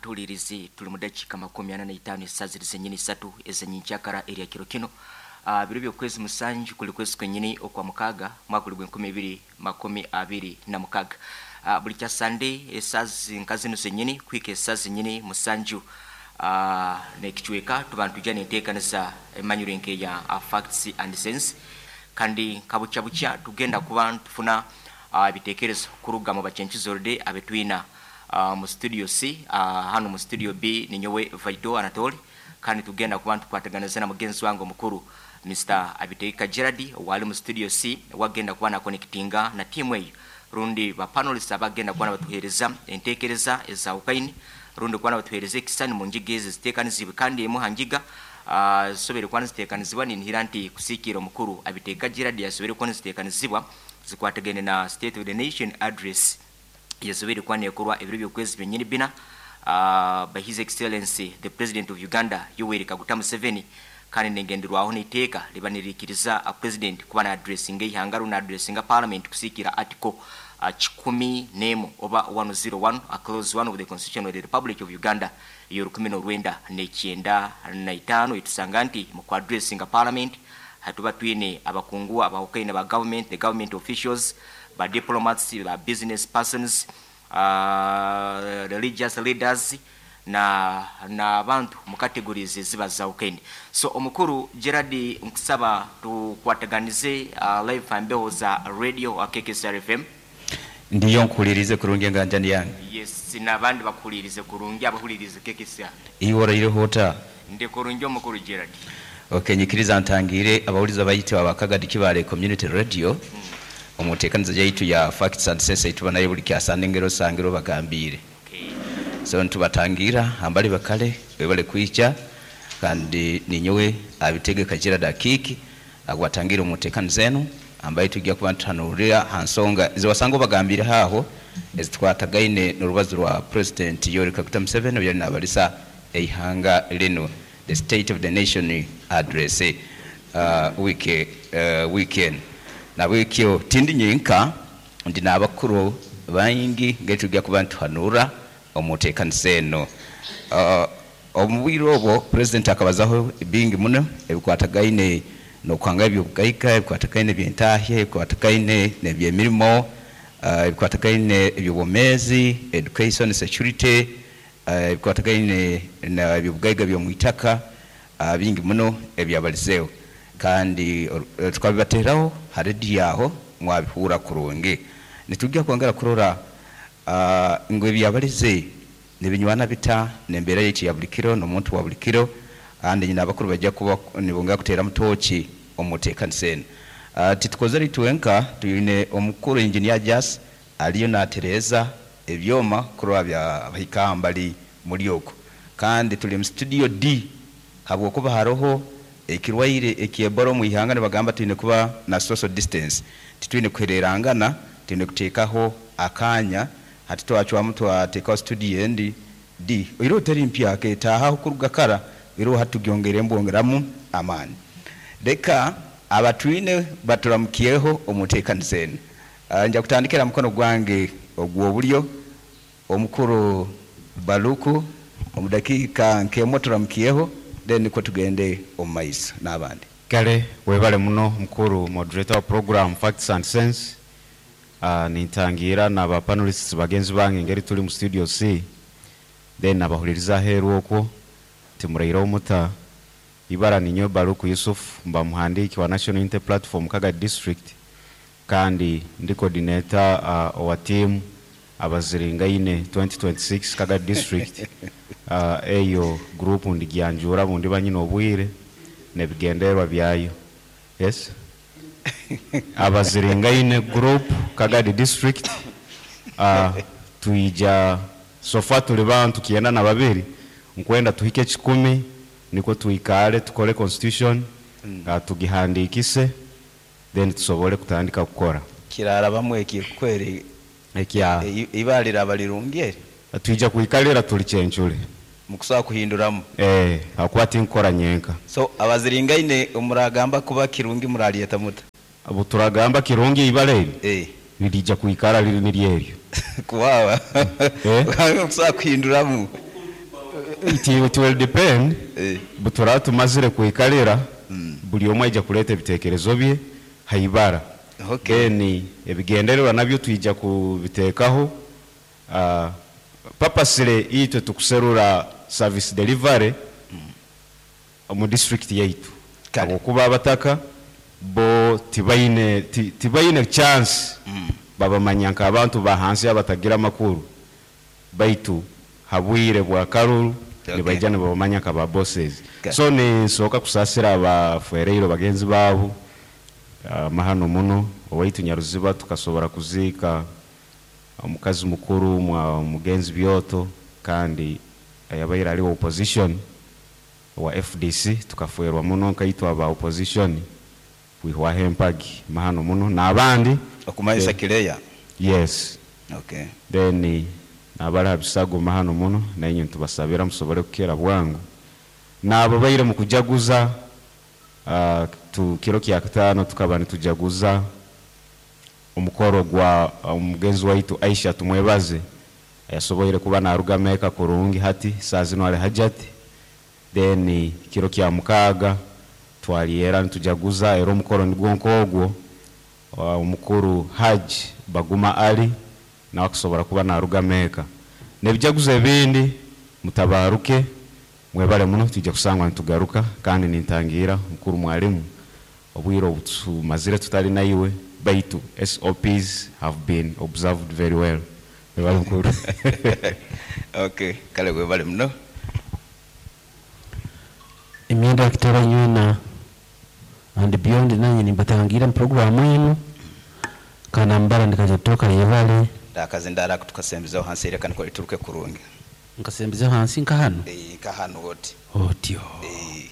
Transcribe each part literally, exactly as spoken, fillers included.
Atulirizi tuli mu dakiika makumi ana na itaano esaaha ziri zenyini isatu ezenyikyakara erya kiro kino, uh, biro byokwezi musanju kuli kwezi kwenyini okwa mukaaga, mwaka guli gwenkumi ibiri makumi abiri na mukaaga. uh, buli kya Sande esaaha nka zino zenyini kuhika esaaha zenyini musanju uh, nekicweka tuba nitujja nenteekanisa emanyiro nkeya uh, Facts and Sense. Kandi nka bukya tugenda kuba ntufuna ebitekerezo uh, kuruga mu bacencizorde abetwina uh, mu studio C. uh, hano mu studio B ninyowe Vaido Anatoli, kandi tugenda kuba ntukwataganiza na mugenzi wange omukuru Mister Abiteeka Gerard wali mu studio C, wagenda kuba na connectinga na timu eyo rundi ba panelists abagenda kuba batuhereza entekereza ezawukaini rundi kuba batuhereza ekisani mu njiga ezi ziteekanizibwe. Kandi emu hanjiga uh, zisobere kuba niziteekanizibwa ninhira nti kusiikira omukuru Abiteeka Gerard yasobere kuba niziteekanizibwa zikwatagene na State of the Nation Address yasobere kuba nekorwa ebiro by'okwezi byenyini bina uh, by His Excellency the President of Uganda Yoweri Kaguta Museveni. Kandi nengenderwaho n'iteeka liba nirikiriza a president kuba na addressinga ihanga na addressinga parliament kusikira article uh, kikumi nemu oba one oh one a clause one of the Constitution of the Republic of Uganda iyo rukumi n'orwenda n'ekyenda na itaano. Etusanga nti mu ku addressinga parliament hatuba twine abakungu abahukaine ba government, the government officials, ba diplomats, ba business persons, uh, religious leaders na n'abantu mu categories eziba zawukaine. So omukuru Gerard, nkusaba tukwataganize uh, live ambeho za radio K K S R F M. Ndiyo, nkuhulirize kurungi enganjani yange. Yes, n'abandi bakuhulirize kurungi abahulirize K K S R. Iwe oraireho ota? Ndi kurungi, omukuru Gerard. Okay, nyikiriza ntangire abawuliza bayite abakagadi Kibale Community Radio omuteekaniza yaitu ya Facts and Sense tuba nayo buli kyasande ngero sangiro bagambire. Okay. So ntubatangira ambali bakale webale kwicha, kandi ninyowe abitegeka Gerard Akiki agwatangira omuteekaniza eno ambaye tujja kuba ntuhanurira ha nsonga ziwasanga bagambire haho ezitwatagaine n'urubazo rwa President Yoweri Kaguta Museveni obyali nabalisa eihanga lino, the State of the Nation Address uh, week, uh, weekend nabwekyo tindi nyinka, ndi n'abakuru baingi ngetujja kuba ntuhanura omuteekanisa eno. uh, omu bwire obwo president akabazaho bingi muno ebikwatagaine nokwanga ebyobugaiga, ebikwatagaine ebyentahya, ebikwatagaine n'ebyemirimo, uh, ebikwatagaine ebyobwomeezi, education, security, uh, ebikwatagaine na ebyobugaiga by'omwitaka, uh, bingi muno ebyabalizeeho. Kandi uh, tukabibateraho ha rediyo aho mwabihura kurungi. Nitujja kwongera kurora uh, ngu ebyabalize nibinywana bita nembeera yaitu ya buli kiro n'omuntu wa buli kiro. Kandi nyina abakuru bajja kuba nibongera kuteera mutoki omuteekanisa eno. uh, titukozere itwenka, twine omukuru engineer Jas aliyo natereeza ebyoma kurora bya bahika mbali muri okwo. Kandi tuli mu studio D habwokuba haroho ekirwaire ekyebora omu ihanga, nibagamba twine kuba na social distance, titwine kuhererangana, twine kuteekaho akanya. Hati twacwamu twateekaho studio endi D iro teri mpya ketaahaho kuruga kara iro hatugyongere mbwongeramu amaani. Leka abatwine baturamukiyeho omuteekaniza eno. uh, nja kutandikira mukono gwange ogw'obulyo, omukuru Baluku, omudakiika nkemwe turamukiyeho, then niko tugende omu maiso n'abandi. Kale webale muno mukuru moderator wa program Facts and Sense. uh, nintangira na ba panelists bagenzi bange ngeri tuli mu studio C, then nabahuliriza aheeru okwo timuraireho muta. Ibara ninyo Baluku Yusuf, mba muhandiki wa National Unity Platform Kagadi District, kandi ndi coordinator uh, wa team Abaziringaine twenty twenty-six Kagadi District. uh, eyo group ndigyanjura bundi banyina obwire nebigenderwa byayo. Yes, Abaziringaine group Kagadi District. uh, tuija so far tuli bantu kienda na babiri, nkwenda tuhike kikumi niko tuikale tukole constitution, mm. uh, tugihandikise, then tusobole kutandika kukora. Kirara bamwe ekikwere. Ekya? Ibara liraba lirungi eri. Tuija kuikalira tuli cyencule. Mukusobola kuhinduramu. Eh, hakuba tinkora nyenka. So Abaziringaine omuragamba kuba kirungi muralyeta muta? Abo turagamba kirungi ibara eri eh lirija kuikara liri niryeryo. Kuwawa. Eh? Mukusobola kuhinduramu. It, it will depend. Eh. Butura tumazire kwikalira, buli omwe aija kuleeta ebitekerezo bye haibara. Okay. Then ebigendererwa nabyo twija kubiteekaho. uh, purposely itwe tukuserura service delivery mu district yaitu, Kale. habwokuba abataka bo tibaine ti- tibaine chance, babamanya nk'abantu ba hansi abatagira amakuru, baitu habwire bwa karuru Okay. nibaija nibabamanya nka ba bosses. Kale. So ninsooka kusasira abafereiro bagenzi baabo amahano muno. Owaitu Nyaruziba tukasobora kuziika omukazi mukuru mwa mugenzi Byoto, kandi yabaire ali wa opposition wa F D C. Tukaferwa muno nkaitwa aba opposition, kwihwaho empagi, mahano muno n'abandi. Okumanyisa Kireya? Yes. Okay. Then n'abali ha bisago, mahano muno, nainye ntubasabira musobole kukira bwangu. N'abo baire mu kujaguza, uh, tu kiro kya kataano tukaba nitujaguza omukoro gwa omugenzi waitu Aisha Tumwebaze, yasoboire kuba naruga Meka kurungi, hati saa zino ali hajati. Then kiro kya mukaaga twaliera nitujaguza era omukoro nigwo nk'ogwo, uh, omukuru Haji Baguma Ali nawe akusobora kuba naruga Meka n'ebijaguzo ebindi. Mutabaruke, mwebale muno, tujja kusangwa nitugaruka. Kandi nintangira mukuru mwalimu, obwire obu tumazire tutali naiwe, baitu S O Ps have been observed very well. Mwebale, mukuru. Okay, kale, webale muno. Emyenda yakitara nywena and beyond, nanye nimbatangira mu programu enu kanambara ndikajatoka yebale. Ndakazi ndara tukasembezaho hansi ereka niko lituruke kurungi. Nkasembezaho hansi nka hano? Eh, nka hano oti. Otyo. Eh.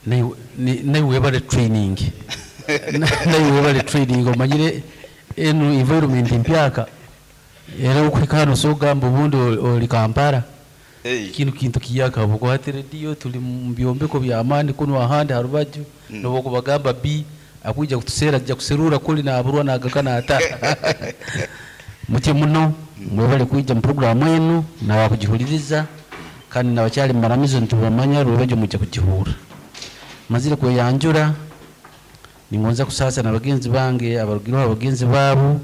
Naye- ni- naye webale training, naye webale training, omanyire enu environment mpyaka, era okuhika hano sogamba obundi oli oli Kampala. Eh. Kinu kintu kiyaka bukwate rediyo, tuli mu byombeko byamaani kuno ahandi harubaju, mm. Nobokubagamba b akwija kutusera ajja kuserura kuli naburwa nagaka nata mutye muno. Mwebale kwija mu programu enu nawakugihuliriza, kandi nabakyali mumaramizo ntibamanya rwebajo mujja kugihura. Mazire kweyanjura, ningonza kusasa na bagenzi bange abarugireho abagenzi baabo,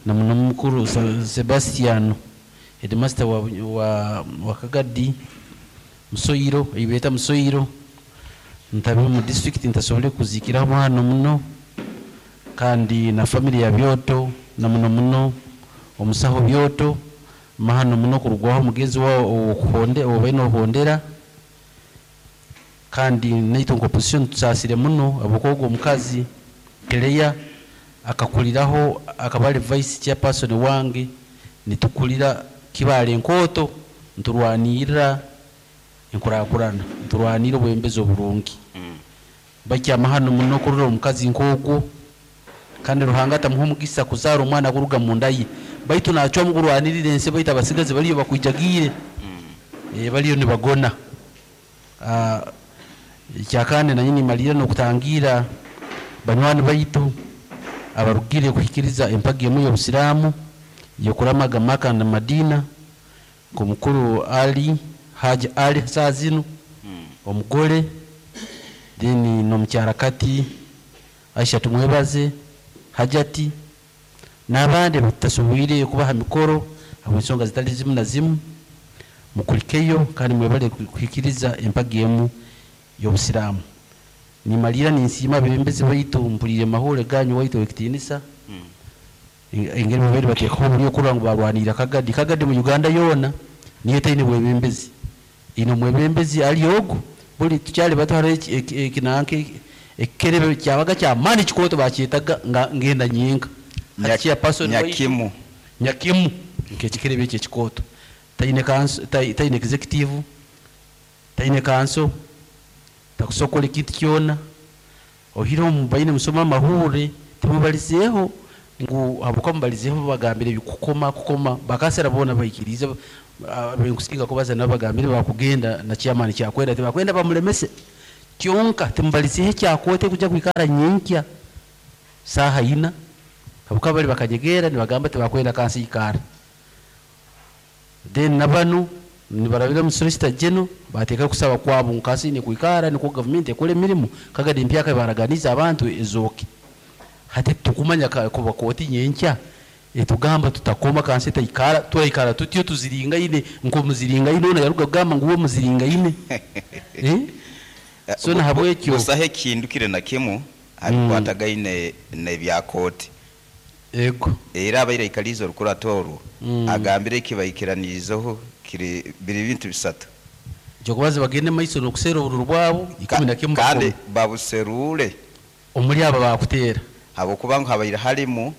na muno mukuru Se- Sebastiano, headmaster wa, wa, wa Kagadi Musoyiro, eibeta Musoyiro, ntabe mu district ntasobole kuzikiraho hano muno, kandi na family ya Byoto, na muno muno omusaho Byoto, mahano muno kurugwaho mugenzi wao okuhonde obaine ohondera. Kandi naitu nka opposition tusasire muno abukogo omukazi Keleya akakuliraho, akaba ali vice chairperson wange, nitukulira Kibale enkoto, nturwanirira enkurakurana, nturwanira obwembezi oburungi. Bakyama hano muno kurora omukazi nk'ogwo, kandi Ruhanga atamuha omugisa kuzaara omwana kuruga munda ye, baitu nacwamu kurwanirira ensi, baitu abasigazi baliyo bakwijagiire, eh, baliyo nibagona. Ah, ekyakandi nanye nimalira n'okutangira banywani baitu abarugire kuhikiriza empagi emu y'obusiraamu yokuramaga Maka na Madina, nk'omukuru Ali Haji Ali saa zinu omugole, then n'omukyara kati Aisha Tumwebaze Hajati, n'abandi batasoboire kubaha mikoro habw'ensonga zitali zimu na zimu. Mukulikeyo kandi mwebale kuhikiriza empagi emu y'obusiraamu. Nimalira ninsiima abebembezi baitu, mpulire mahule ganyu waitu ekitiinisa, engeri babaire bateekaho oburi okurora ngu barwanirira Kagadi. Kagadi mu Uganda yoona niyo etaine bwebembezi, ine omwebembezi ali ogu. Buli tukyali bato hariho ekinanka ekikerebe kyabaga kyamaani kikooto, bakyetaga nga ngenda nyenka. Nya- Chairperson waitu- Nyakimu. Nyakimu, nk'ekikerebe ekyo ekikooto taine council- tai- taine executive, taine council, takusokola ekintu kyona ohireho mubaine musoma amahure. Timubalizeeho ngu habuka mubalizeeho bagambire ebikukoma kukoma bakasera boona baikirize benkusinga kubaza nabo bagambire bakugenda na chairman kyakwenda tibakwenda bamulemese kyonka. Timubalizeeho ekyakote kuja kwikara nyenkya saaha ina, habuka bali bakanyegera nibagamba tibakwenda kansi ikara. Then nabanu Nibarabira mu Solicitor General bateeka kusaba kwabo nkasi ni kwikara niko government ekora emirimu Kagadi empyaka baraganiza abantu ezoke. Hati tukumanya ka- kuba kooti nyenkya etugamba tutakoma kansi taikara turaikara tutyo tuziringaine nko muziringaine ono yaruga kugamba ngu uwe muziringaine eh? So nahabwekyo busaho ekintu kire na kimu abikwatagaine nebya kooti. Ego. Era abaire aikaliize orukurato orwo Mm. agambire ekibaikiraniizeho kiri biri bintu bisatu. Kyokubaza bagende maiso nokusera obururu bwabo ikumi na kimu kandi bakome. babuserure omuri aba bakuteera habwokuba ngu habaire harimu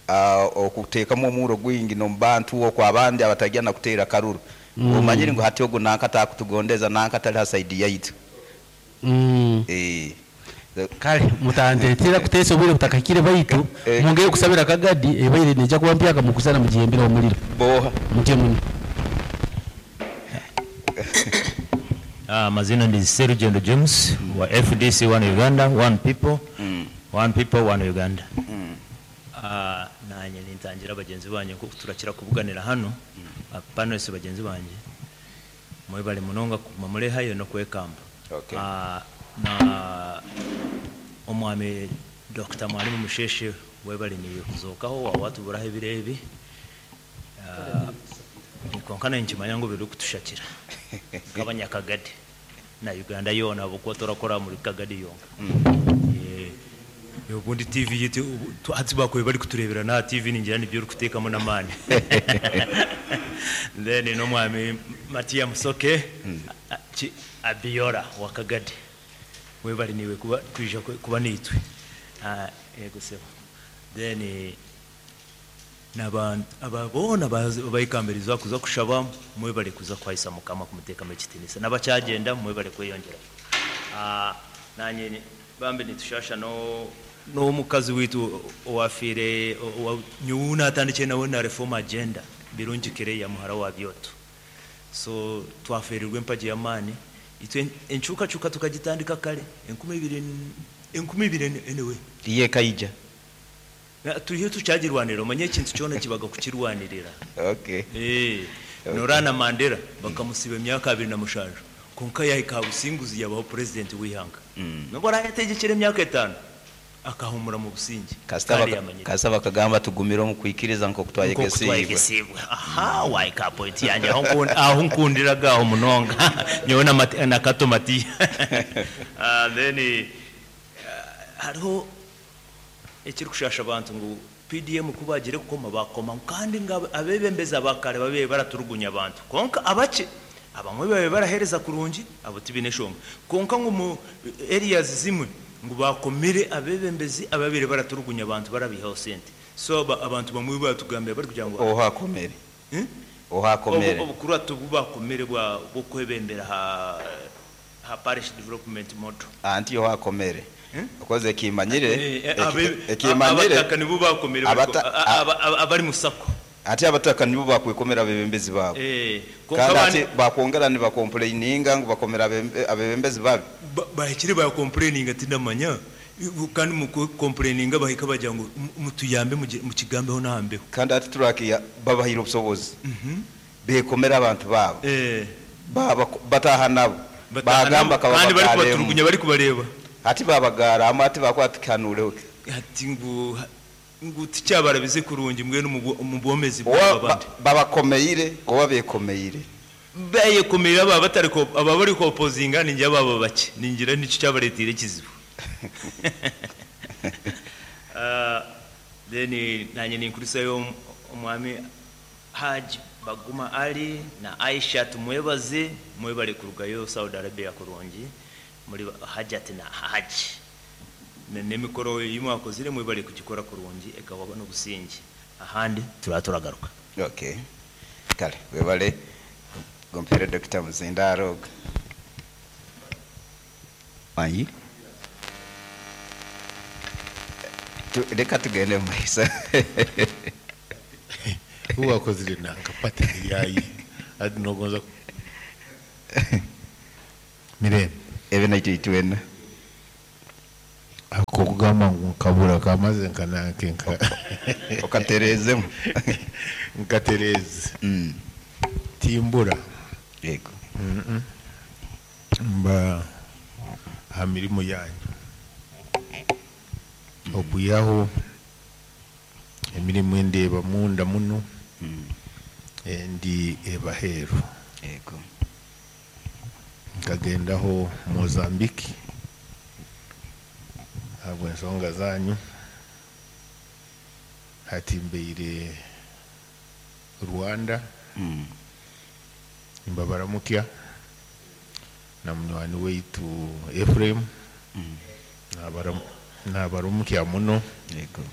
ah, okuteekamu omuro gwingi n'omubantu okwo abandi abatagya na kuteera karuru. Mm. Omanyire ngu hati ogu nanka atakutugondeza nanka atali ha saidi yaitu. Mm. Eh. Kale mutantetera kuteesa obwire butakahikire baitu Eh. mwongere kusabira Kagadi ebaire neija kuba mpyaka mukusana mugihembera omuliro. Boha. Mutye muno. Ah, mazina ndi Serugendo James wa F D C One Uganda, One People, Mm. One People, One Uganda. Mm. Ah, nanye nintangira bagenzi banje kuko turakira kubuganira hano. Mm. Panelists bagenzi banje mwebale munonga kuguma murehayo no kwekamba. Okay. Ah, na omwami Doctor Mwalimu Musheshe webale niwe kuzokaho wa watu buraho ebirebi. Ah, konka nkimanya ngo biri kutushakira nk'abanyakagadi na Uganda yona abo turakora muri Kagadi yonka. Mm. Eh, ubundi T V yitu hati bakwe bari kuturebera na T V ningira nibyo uri kutekamo n'amani. Then no mwami Matia Musoke Mm. ki Abiora wa Kagadi we bari niwe kuba twija kuba nitwe. Ah, yego sebo. Then n'abantu ababona bayikambiriza kuza kushaba mwe bari kuza kwahisa mukama kumuteka mu kitinisa n'abacyagenda mwe bari kwiyongera. Ah, nanye bambe nitushasha no no mukazi witu owafire nyuna atandike nawe na reform agenda birungi kire ya muhara wa byoto. So twaferirwe mpaji yamani itwe enchuka chuka tukagitandika kale enkumi ibiri enkumi ibiri anyway iye kaija turiyo tucyagirwanira omanye ekintu kyona kibaga kukirwanirira. Okay. Eh, Okay. Norana Mandela bakamusiba emyaka abiri na mushanju konka yahika businguzi yabaho president w'ihanga. Mm. Nubwo arayategekera emyaka etano akahumura mu busingi. Kasita Kandi baka- yamanyire. kasita bakagamba tugumire omu kwikiriza nko Nko kutwayegesibwa. kutwayegesibwa. Aha, waika point yanjye aho nkun-, aho nkundiraga aho munonga. Nyowe na Mati-, na Kato Matiya. Ah, then, eh, hariho ekiri kushasha abantu ngu P D M kubagire kukoma bakoma kandi nga abebembeza bakare babe baraturugunya abantu konka abake abamwe babe barahereza kurungi abo tibine shonga konka ngu mu areas zimwe ngu bakomire abebembezi ababire baraturugunya abantu barabihaho sente so aba, abantu bamwe batugambye bari kugira ngo ohakomere. Eh? Ohakomere. Obu kuratu bubakomere bwa bwo kwebembera ha, ha parish development model. Anti ohakomere. Eh? Okoze kimanyire, Eh, eh, eki- abe- ekimanyire, abataka nibo bakomere bariko, abata- a-, a-, aba-, aba-, abari musako. Ati abataka nibo bakwikomera abebembezi babo. Eh, konka Kandi abandi ati bakwongera ni bakomplaininga ngo bakomera abembe-, abebembezi babi. Ba-, bahikire bakomplaininga ati ndamanya. Kandi mu complaininga bahika bajya ngo mu-, mutuyambe mugi-, mukigambeho nahambeho. Kandi ati turakiya babahira obusobozi. Mhm. Bekomera abantu babo. Eh. Baba bataha nabo. Bataha Bagamba nabo. kaba Kandi bari bagaremu. kubaturugunya bari kubareba. Ati babagara ama ati bakwatikanure. Ati ngu ngu ticyabarabize kurungi mwe no mu bomezi Owa bw'abandi. ba-, babakomeire owa bekomeire. Baye komeira aba batari ko aba bari ko opposinga ninjye baba bake ningira nicyo cyabaretire kizibu. Ah, then nanye ninkurisa yo omwami Haji Baguma Ali na Aisha tumwebaze mwebale kurugayo Saudi Arabia kurungi muri Hajat na Haji. Nemikoro yimwakozire mwebale kugikora kurungi ekawa no busingi. Ahandi turaturagaruka. Okay. Kale webale gompere Doctor Muzindaro. Ayi. Tu reka tugende mu maisa. Uwakozire nanka pati yayi. Adi nogonza Mirembe. Ebe naito itwena. Ako kugamba ngu nkabura kamaze nkananke nka Okaterezemu. Nkatereze. Mm. Timbura. Yego. Mba aha mirimo yanyu okwihaho emirimu endeeba munda muno endi ebaheeru. Yego. Nkagendaho Mozambique ahabw'ensonga zanyu, hati mbeire Rwanda. Mm. Mbabaramukya na munywani waitu Ephraim. Mm. Nabaram- nabaramukya muno. Yego.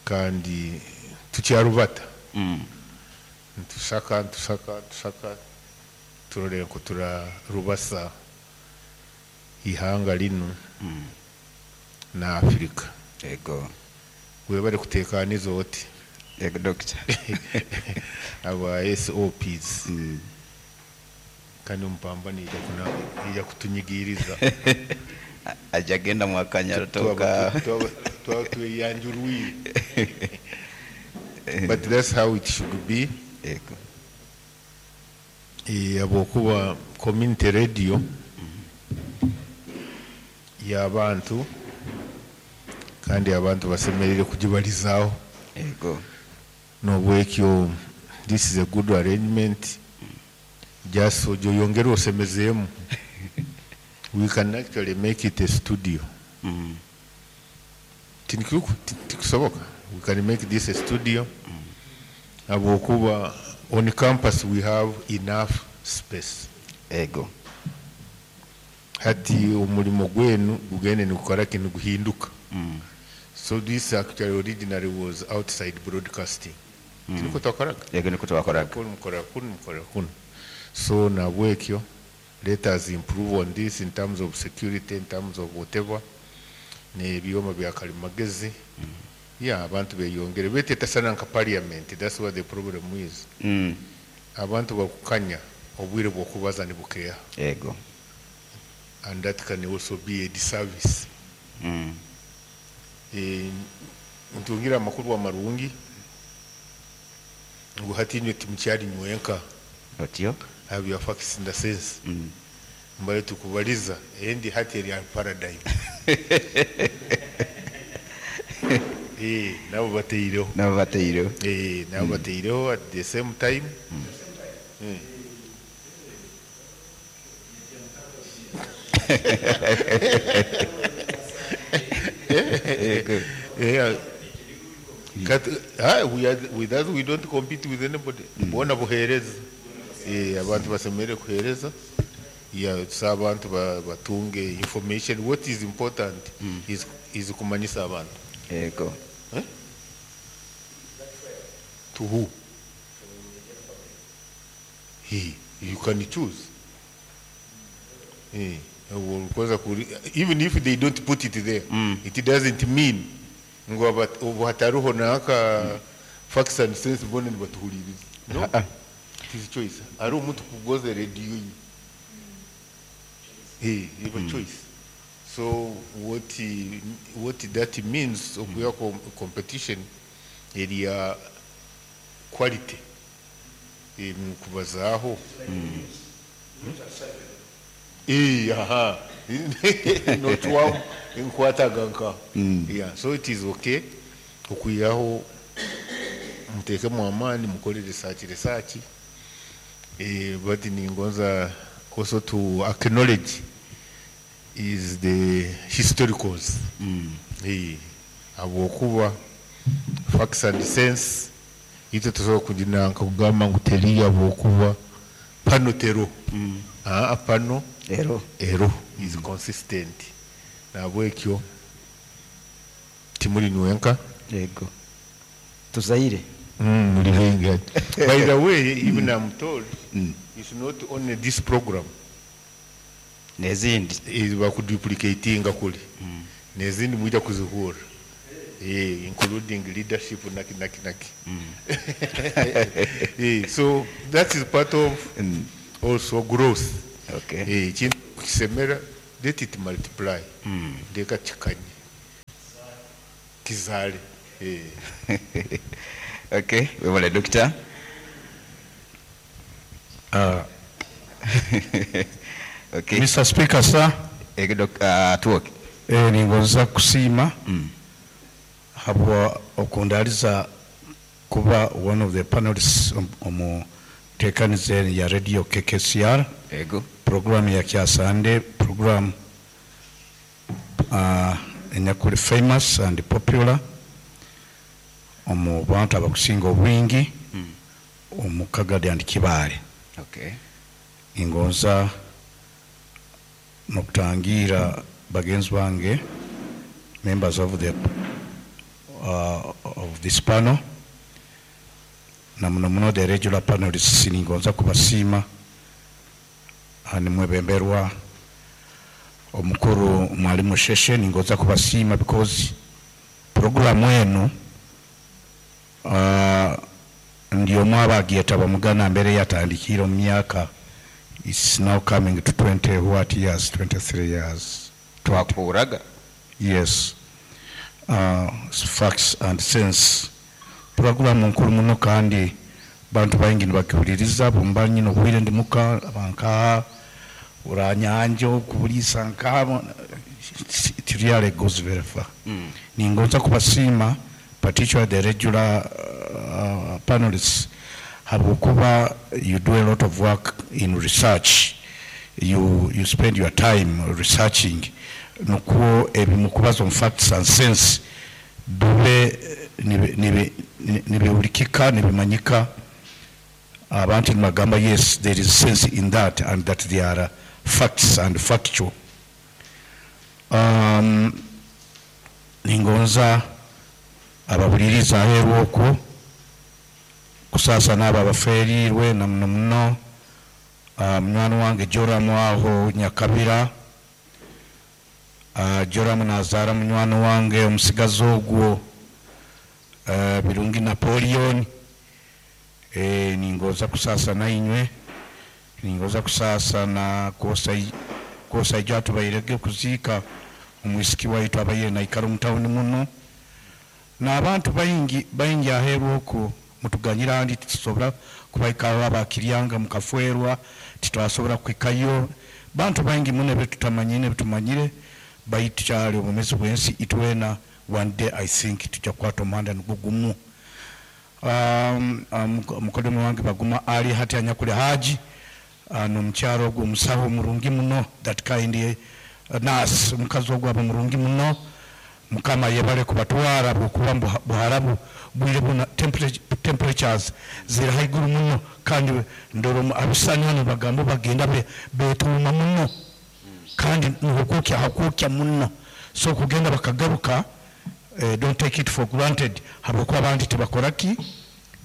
Kandi tukyarubata. Mm. Ntusaka ntusaka ntusaka turore nku turarubasa ihanga linu Mm. na Afrika. Yego. Webale kutekaniza oti. Yego, doctor. Aba S O Ps. Mm. Kandi omupambani ija kuna ija kutunyigiriza. Aja genda mwakanya toka. Twaba tweyanjurwire. But that's how it should be. Yego. Eh, abokuba community radio y'abantu kandi abantu basemerere kugibalizaho. Yego. Nobwekyo this is a good arrangement. Just so joyongera osemezeemu. We can actually make it a studio. Mm. Tikusoboka. We can make this a studio. Abokuba on campus we have enough space. Ego. Hati omulimo gwenu gugende nikukora kintu guhinduka. Mm. So this actually originally was outside broadcasting. Mm. Tiniko twakoraga? Ego niko twakoraga. Kuno mukora kuno mukora kuno. So nabwekyo let us improve on this in terms of security, in terms of whatever. N'ebyoma bya kalimagezi. Mm. Yeah, abantu beyongere betetasana nka parliament. That's what the problem is. Mm. Abantu bakukanya obwire bw'okubaza nibukeya. Ego. And that can also be a disservice. Mm. Eh, ntungira amakuru amarungi ngu hati inywe timukyari nywenka. Otyo? Have your facts in the sense. Mm. Mbaye tukubaliza endi hati eri paradigm. Eh, nabo bateireho. Nabo bateireho. Eh, nabo bateireho at the same time. Mm. Mm. Yeah. Kat, ah, we are, with us we don't compete with anybody. Mm. Bona buhereza. Eh, abantu basemere kuhereza. Yeah, so abantu batunge information. What is important mm. is is kumanyisa abantu. Ego. Eh? To who? He, you can choose. Eh, even if they don't put it there, mm. it doesn't mean ngo hataruho naka facts and sense bone batuhuliriza. No, it is choice. Ari omuntu kugoza radio. Hey, you have a choice. So what he, what that means of your competition area quality. Eh, kubazaho. Eh, aha. Not one inkwataganka. Yeah, so it is okay. Okuyaho muteke mu amani mukore research research. Eh, but ningonza also to acknowledge is the historicals. Mm. Eh, abokuba facts and sense ito tusobola kuginanka kugamba ngu teri abokuba pano tero. Mm. Ah, pano ero ero is consistent. Nabwekyo timuri nwenka. Yego. Tuzaire. Mm, muri wenga. By the way, even I'm told mm. it's not only this program. Nezindi eh bakuduplicatinga kuli. Mm. Nezindi mujja kuzihura. Eh, including leadership naki naki naki. Mm. Eh, so that is part of mm. also growth. Okay. Eh, kintu kisemera let it multiply. Mm. Leka kikanye. Kizale. Eh. Okay, webale doctor. Uh, Okay. Mister Speaker, sir. Ego, Doc- uh, Atwoki. Eh, ningonza kusiima habwa okundaliza kuba one of the panelists om- omu nteekaniza ya radio K K C R. Ego. Program ya Kyasande, program uh, enyakuli famous and popular omu bantu abakusinga obwingi omu Kagadi and Kibaale. Okay. Ningonza nokutangira bagenzi bange, members of the uh, of this panel, na muno muno the regular panelists. Ningonza kubasiima. Ah, nimwebemberwa omukuru Mwalimu Sheshe. Ningonza kubasiima because programu enu uh, ndio mwabagyetaba mugana mbere yatandikire omu myaka, it's now coming to twenty what years, twenty-three years. Twakuraga. Yes, uh, Facts and Sense programu nkuru muno, kandi bantu baingi nibakihuliriza. Bumba nyine obwire ndi muka bankaha uranyanja okubulisa nkaha, it really goes very far. Mm. Ningonza kubasiima, particularly the regular uh, panelists, habwokuba you do a lot of work in research. you, you spend your time researching nukwo ebimukubaza omu Facts and Sense bibe nibi- nibi- nibihulikika, nibimanyika. Abantu nibagamba, "Yes, there is sense in that," and that they are facts and factual. um, ningonza ababuliriza aheeru okwo kusaasa n'abo abaferirwe, na muno muno uh, munywani wange Joramu aho Nyakabira. uh, Joramu nazaara munywani wange omusigazi ogwo uh, Birungi Napoleon. e, ningoza kusaasa nainywe, ningoza kusaasa na kwosa ijo atubairege kuziika omwisiki waitu abaire naikara omu tawuni muno, n'abantu baingi baingi aheeru okwo. Mutuganyira andi titusobora kubaikaho abakiryanga mukafwerwa, titwasobora kuhikayo. Bantu baingi muno ebitutamanyire ebitumanyire, baitu kyali obumezi bwensi. Itwena one day I think tujja kukwata omuhanda nigwo gumu. um, um, mukodomi wange Baguma ali hati anyakuli haji uh, nomukyalo ogwo omusawo murungi muno, that kind uh, nurse, omukazi ogwo aba murungi muno. Mukama yebale kubatwara, bwokuba mu Buharabu bwire buna temperature- temperatures ziri haiguru muno, kandi ndoro abisani hano bagamba bagenda be- betuuma muno, kandi nihukukya hakukya muno. So kugenda bakagaruka, eh, don't take it for granted, habwokuba abandi tibakoraki,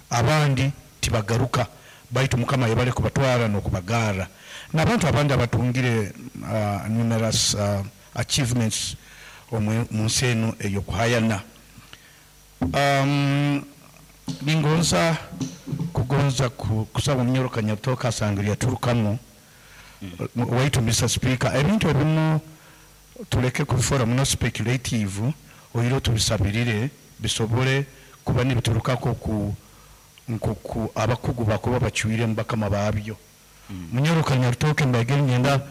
abandi tibagaruka. Baitu Mukama yebale kubatwara n'okubagaara, n'abantu abandi abatungire uh, numerous uh, achievements omu mu nsi eno ey'okuhayana. um, ningonza kugonza ku- kusaba Omunyoro Kanyatoka asangire yaturukamu waitu. Mister Speaker, ebintu ebimu tuleke kubifora muno speculative, oyire tubisabirire bisobole kuba nibiturukako ku nkoku abakugu bakuba bacwire mubakama babyo. Munyoro Kanyarutoke mbagere ngenda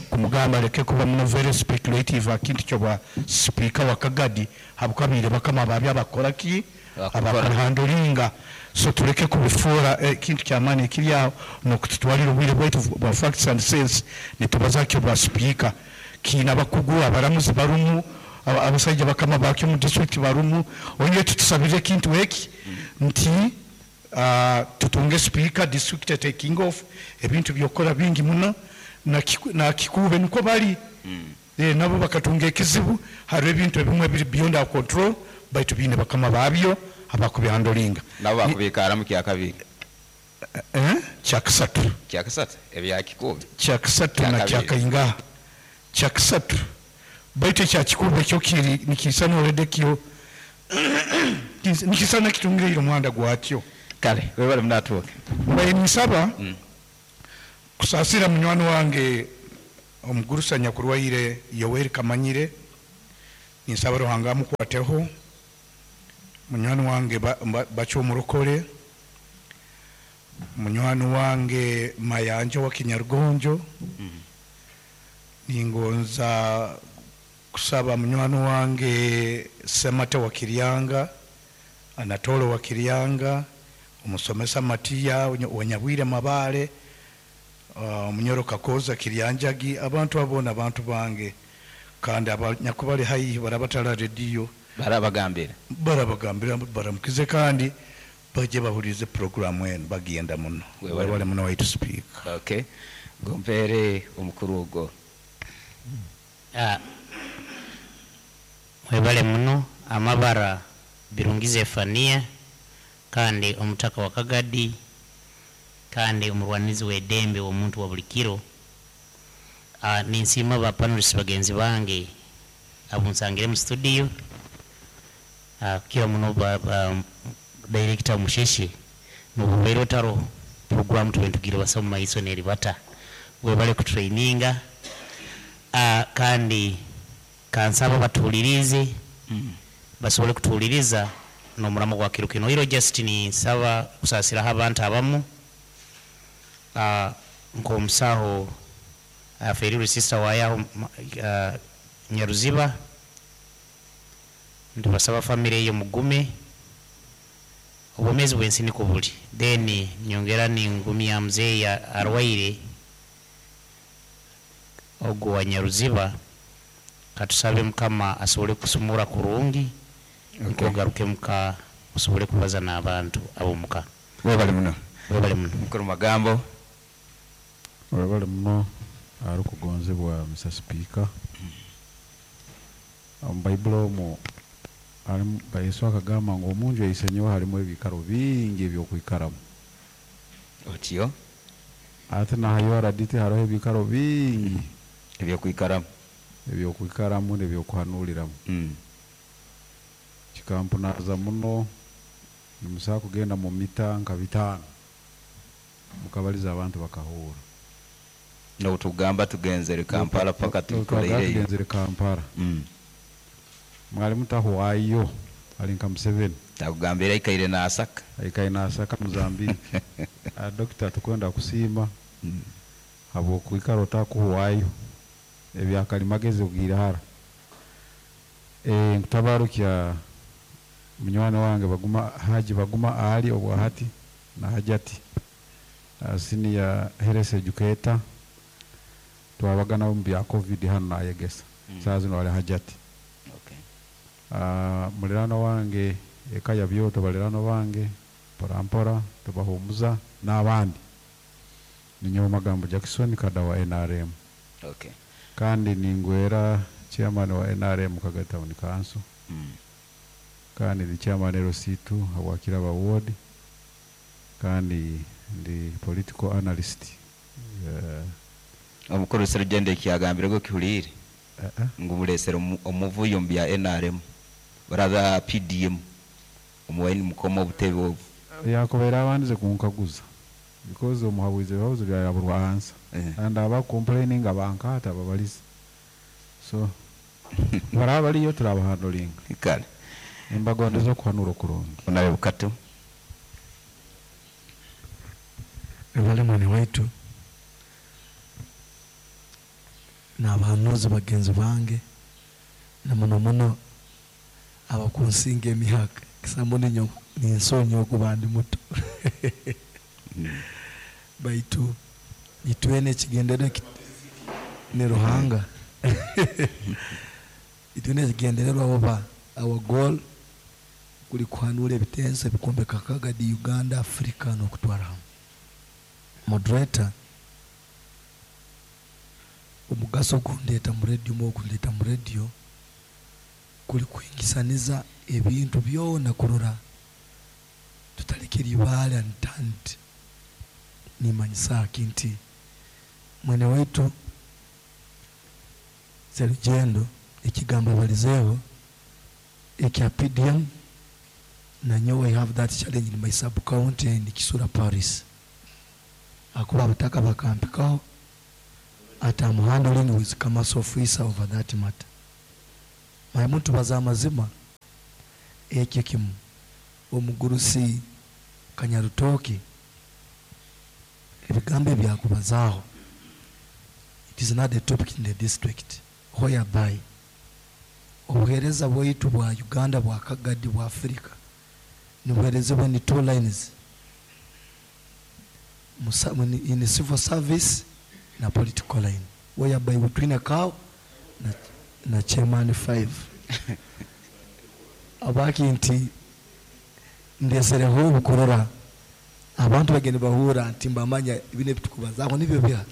kumugamba aleke kuba muno very speculative akintu kyo speaker wa Kagadi, habukabire bakama babyo abakora ki. Bakukora. Abakuhandlinga. So tuleke kubifuura ekintu kyamaani ekiri aho nokututwalira obwire bwaitu bwa Facts and Sense nitubazakyo bwa speaker. Kiina abakugu, abaramuzi barumu, aba- abasajja bakama bakyo mu district barumu. Onye tutusabire ekintu eki nti uh, tutunge speaker, district taking off, ebintu byokola bingi muno. Na kiku- na Kikuube niko bali. Eh, nabo bakatunga ekizibu. Hariho ebintu ebimwe ebiri beyond our control, baitu biine bakama babyo abakubihandlinga. Nabo bakubikaramu kyakabiri. Eh? Kyakasatu. Kyakasatu ebyakikuube. Kyakasatu na Kyakabiri. Kyakainga kyakasatu, baitu ekyakikuube kyo kiri nikisana already, kyo nikisana kitungire omuhanda gwakyo. Kale, webale munatuuke. Mbaye nisaba kusaasira munywani wange omugurusa nyakurwaire Yoweri Kamanyire. Ninsaba Ruhanga amukwateho. Munywani wange ba- ba- Bakyo omurokore, Munywani wange Mayanja wa Kinyarugonjo. Ningonza kusaba munywani wange Semate wa Kiryanga, Anatolo wa Kiryanga, omusomesa Matiya wa Nyabwire Mabale, uh, Munyoro Kakoza Kiryanjagi, abantu abona abantu bange kandi abanyakubali haihi barabatala rediyo barabagambira barabagambira baramukize kandi baje bahurize programu eno bagenda muno. Webale. Webale muno waitu speaker. Okay, gompere omukuru ogwo. Ah, webale muno amabara Birungi Zefania kandi omutaka wa Kagadi kandi omurwanizi w'eddembe omuntu wa buli kiro. Ah, ninsiima ba panelists bagenzi bange abunsangire mu studio. Ah, kira muno ba, ba, director Musheshe nobubaire otaro program tubentugire basa mu maiso neribata webale kutraininga. Ah, kandi kansaba batuulirize mm. basobole kutuuliriza n'omuramo gwa kiro kino. Iro Justin nsaba kusaasiraho abantu abamu. Ah, nk'omusaho afeerirwe sister wayaho uh, Nyaruziba, ntibasaba family eyo mugume obwomezi bwensi niko buli. Then nyongera ningumya mzeeyi arwaire ogwo wa Nyaruziba, katusabe Mukama asobole kusumura kurungi. Okay. Nkogaruke muka osobole kubaza n'abantu abomuka. Webale muno. Webale muno. Mukuru magambo. Webale muno arikugonzebwa Mister Speaker. Omu Baibuli omwo harimu Yesu akagamba ngu omunju eisenyewe harimu ebikaro bingi ebyokwikaramu. Otyo ate nahayo araditi hariho ebikaro bingi ebyokwikaramu ebyokwikaramu n'ebyokuhanuriramu. Mm. Kikampunaza muno nimusobola kugenda mu mita nka bitaano mukabaliza abantu bakahura. N'obutugamba tugenzere Kampala paka tukoleireyo. Tugenzere Kampala. Mm. Mwali mutahwayo ali nka Museveni. Takugambira aikaire n'asaka. Aikaire n'asaka Mozambique. Ah, dokita tukwenda kusiima mm. habwokwikara otakuhwayo ebyakalimagezi ogiire hara. Eh, nkutabarukya munywani wange Baguma Haji Baguma Ali obwahati na Hajati, uh, senior health educator twabagana mu bya COVID hano nayegesa. Mm. Saa zino wali Hajati. Okay. Uh, mulirano wange eka ya byoto balirano bange mpora mpora tubahumuza n'abandi. Ninyowe Magambo Jackson kada wa N R M. Okay. Kandi ningwera chairman wa N R M Kagadi Town Council. Mm. Kandi ndi chairman L C two Habwakiraba ward. Kandi ndi political analyst. Uh, omukuru Serugendo ekyagambire go kihulire. Uh -uh. Ngu mulesere omuvuyo mu bya N R M baraba P D M omuwaini mukoma obutebe obu. Yakobeera abandize kunkaguza because omuhabuzi ebibuzo byayaburwa ansa. Eh. And aba complaining abankaata babalize. So baraba baliyo turabahandulinga. Kale. Embagondeza okuhanura okurungi. Onabe bukatu. Ebale mwene waitu n'abahanuzi bagenzi bange na muno muno abakunsinga emyaka kisambo ninyo ninsonyi okuba ndi muto. Baitu itwene ekigendererwa ni Ruhanga. Itwene ekigendererwa oba our goal kuli kuhanura ebitenso ebikombeka Kagadi Uganda Africa n'okutwara hamwe. Moderator, omugaso gundeta mu radio mu gundeta mu radio kuli kuingisaniza ebintu byona kurora tutalekera ibale antanti. Nimanyisa kinti mwene wetu Serugendo ekigambo balizeho ekya P D M na nyowe I have that challenge in my sub county in Kisura Paris. Akuba abataka bakampikaho at I'm handling with commerce officer over that matter. My muntu baza amazima ekyo kimu omugurusi Kanyarutoki Ebigambo ebyakubazaaho, it is not a topic in the district, whereby obuheereza bwaitu bwa Uganda, bwa Kagadi, bwa Africa nibuheerezebwa ni two lines, Musa- in in civil service na political line, whereby between cow na, na chairman five abaki nti ndesereho obukurora abantu bagenda bahura nti mbamanya bine bitukubazaho nibyo bya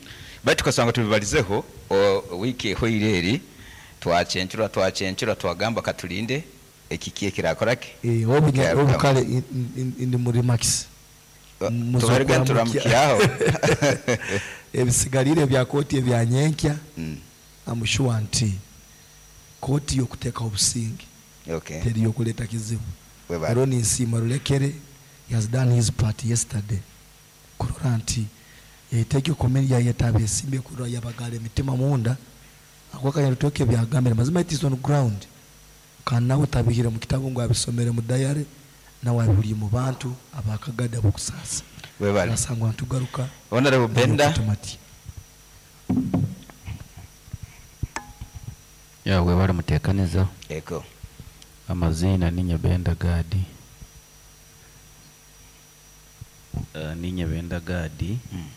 Baitu tukasanga tubibalizeho o- wiiki ehoire eri twacencura twacencura twagamba katulinde ekiki ekirakoraki. Eh, obunya- Kyarukamu. obukale in- in- in- muri max Tubarige turamukyaho. Ebisigalire bya kooti ebya nyenkya, Mm. I'm sure nti kooti yokuteekaho obusinge, Okay. teri yokuleeta kizibu. Webale. Ero ninsiima Rulekere, he has done his part yesterday kurora nti yaiteeka komeni yayeta abeesimbye kurora yabagala emitima munda akwakanya rutoke byagambire mazima, it is on ground, kandi nawe tabihire mu kitabu ngu abisomere mu diary, nawe abihuriye mu bantu abakagadi abokusaasa. Webale. Nasangwa ntugaruka. Honorable Benda. Tumati. Ya, webale muteekaniza. Eko. Amazina ninye Benda Gadi, uh, ninye Benda Gadi, mm.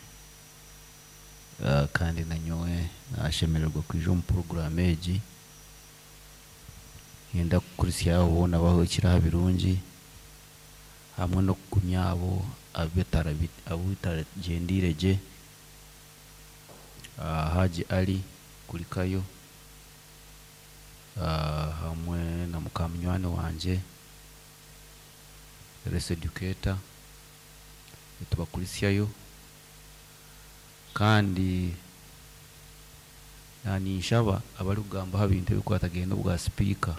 uh, kandi nanyowe nashemererwa kwija omu program egi. Yenda kukurisyaho boona bahukire birungi hamwe n'okugumya abo abitaragendiire gye. uh, Haji Ali kulikayo, uh, hamwe na mukamunywani wanje res educator, nitubakurisyayo. Kandi naninshaba abari kugamba aha bintu ebikwatagaine n'obwa sipiika,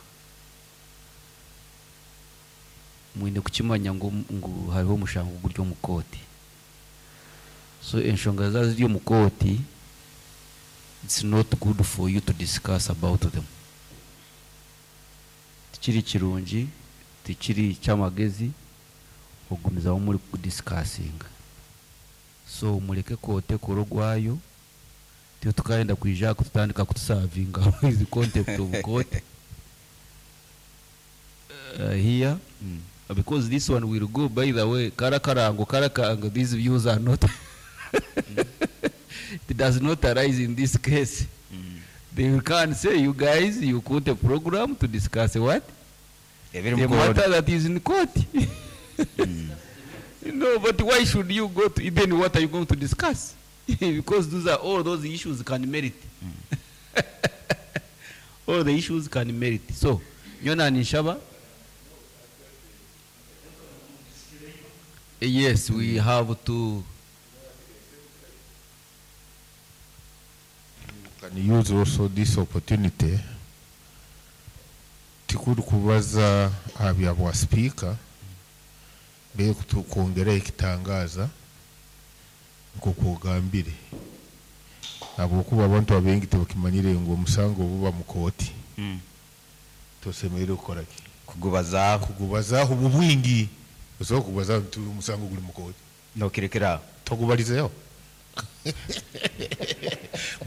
mwine kukimanya ngu, ngu hariho omushango guri omu kooti. So enshonga zaaba ziri omu kooti, it's not good for you to discuss about them. Tikiri kirungi, tikiri kyamagezi okugumizamu muri kudiscussinga. So mureke kooti ekore ogwayo, tiyo tukayenda kwija kututandika kutusavinga with contempt of court uh, here, mm. because this one will go, by the way, karakarango karakarango, these views are not, it does not arise in this case. mm. They will come and say, you guys, you put a program to discuss what? Ebiri the mu court. matter that is in court. No, but why should you go to, even what are you going to discuss? Because those are all those issues can merit. All the issues can merit. So, Yona Nishaba. Yes, we have to. Can use also this opportunity tikuri kubaza aha bya bwa speaker be kwongera ekitangaza nk'okwogambire, habwokuba abantu abaingi tebakimanyire ngu omusango buba mu kooti, Mm. tosemereire kukora ki? Kugubazaaho. Kugubazaaho obu bwingi osobola kugubazaho nti omusango guri mu kooti, nokirekeraho. Togubalizeho.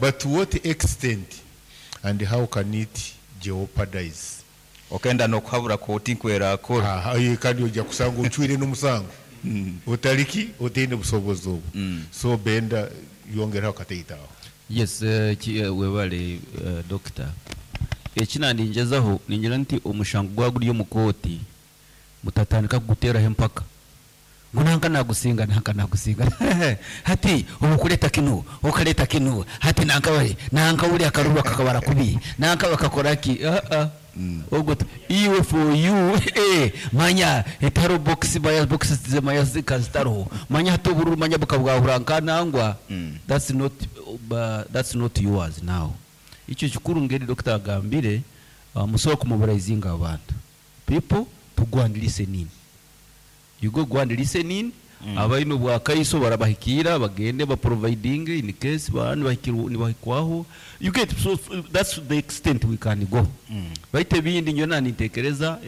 But to what extent and how can it jeopardize? Okenda nokuhabura kooti nkwerakora. Aha, ye, kandi ojja kusanga ocwire n'omusango otaliki otaine busobozi obwo. So Benda, yongeraho kateitaho. Yes, uh, ki, uh, webale, uh, doctor. Ekina ningezaho ningira nti omushango gwa guri omu kooti, mutatandika kuguteraho empaka ngu nanka nagusinga, nanka nagusinga, hati obukuleta kino okaleta kino, hati nanka bari nanka uri akaruru kakabara kubi nanka bakakora ki. Ah ah, ogwo tu- iwe for you, eh manya etaro box baya box manya zikazitaro manya hati obururu manya bukabwahura nkanangwa. That's not uh, that's not yours now. Icyo kikuru ngeri doctor agambire, uh, musobola kumobilizinga abantu, people to go and listen in. You go go and listen in. mm. Abaine obwakaiso barabahikira bagende ba providing in case bani bahikirwa nibahikwaho, you get? So that's the extent we can go. mm. Baite ebindi nyona nintekereza.